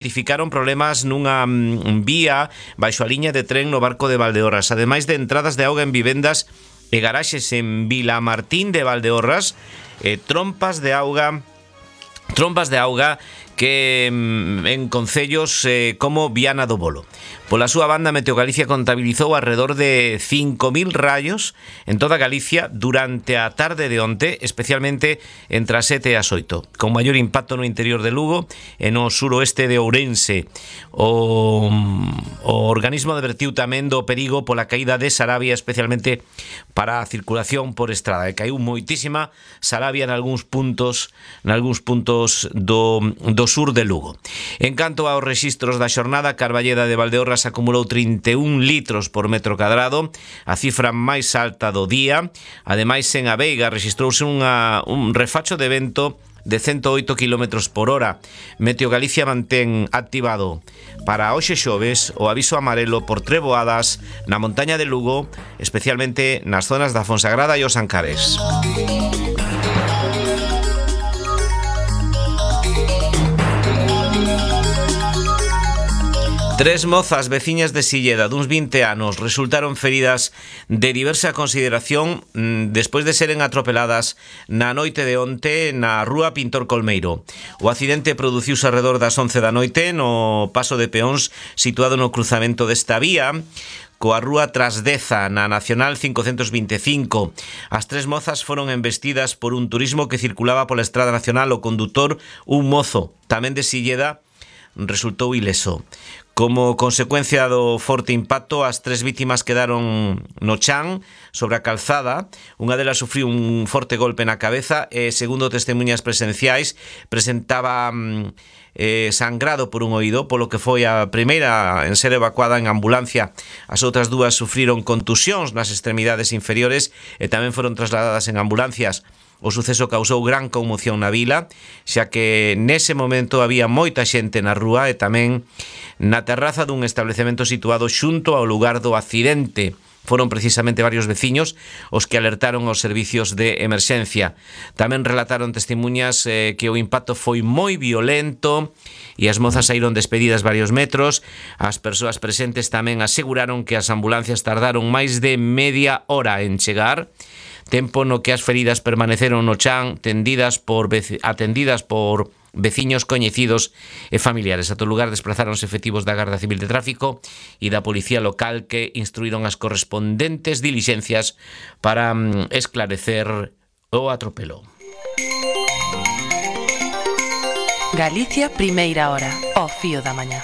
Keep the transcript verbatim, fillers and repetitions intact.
Identificaron problemas nunha mm, vía baixo a liña de tren no Barco de Valdeorras, ademais de entradas de auga en vivendas e garaxes en Vilamartín de Valdeorras, e trompas de auga trompas de auga que mm, en concellos eh, como Viana do Bolo. Pola súa banda, Meteo Galicia contabilizou alrededor de cinco mil rayos en toda Galicia durante a tarde de onte, especialmente entre as sete e as oito, con maior impacto no interior de Lugo e no suroeste de Ourense. O, o organismo advertiu tamén do perigo pola caída de Sarabia, especialmente para a circulación por estrada, e caiu moitísima Sarabia en algúns puntos, en algúns puntos do, do sur de Lugo. En canto aos rexistros da xornada, Carballeda de Valdeorras acumulou trinta e un litros por metro cadrado, a cifra máis alta do día. Ademais, en A Veiga rexistrouse unha, un refacho de vento de ciento oito kilómetros por hora. Meteo Galicia mantén activado para hoxe xoves o aviso amarelo por treboadas na montaña de Lugo, especialmente nas zonas da Fonsagrada e os Ancares. Tres mozas veciñas de Silleda duns vinte anos resultaron feridas de diversa consideración despois de seren atropeladas na noite de onte na rúa Pintor Colmeiro. O accidente produciuse alrededor das once da noite no paso de peóns situado no cruzamento desta vía coa rúa Trasdeza na Nacional cincocentos vinte e cinco. As tres mozas foron embestidas por un turismo que circulaba pola Estrada Nacional. O condutor, un mozo tamén de Silleda, resultou ileso. Como consecuencia do forte impacto, as tres vítimas quedaron no chan sobre a calzada. Unha delas sufriu un forte golpe na cabeza e, segundo testemunhas presenciais, presentaba eh, sangrado por un oído, polo que foi a primeira en ser evacuada en ambulancia. As outras dúas sufriron contusións nas extremidades inferiores e tamén foron trasladadas en ambulancias. O suceso causou gran conmoción na vila, xa que nese momento había moita xente na rúa e tamén na terraza dun establecemento situado xunto ao lugar do accidente. Foron precisamente varios veciños os que alertaron aos servicios de emerxencia. Tamén relataron testemunhas eh, que o impacto foi moi violento e as mozas saíron despedidas varios metros. As persoas presentes tamén aseguraron que as ambulancias tardaron máis de media hora en chegar, tempo no que as feridas permaneceron no chan tendidas por, atendidas por veciños coñecidos e familiares. A todo lugar desplazáronse efectivos da Garda Civil de Tráfico e da Policía Local, que instruíron as correspondentes dilixencias para mm, esclarecer o atropelo. Galicia, primeira hora, ao fío da mañá.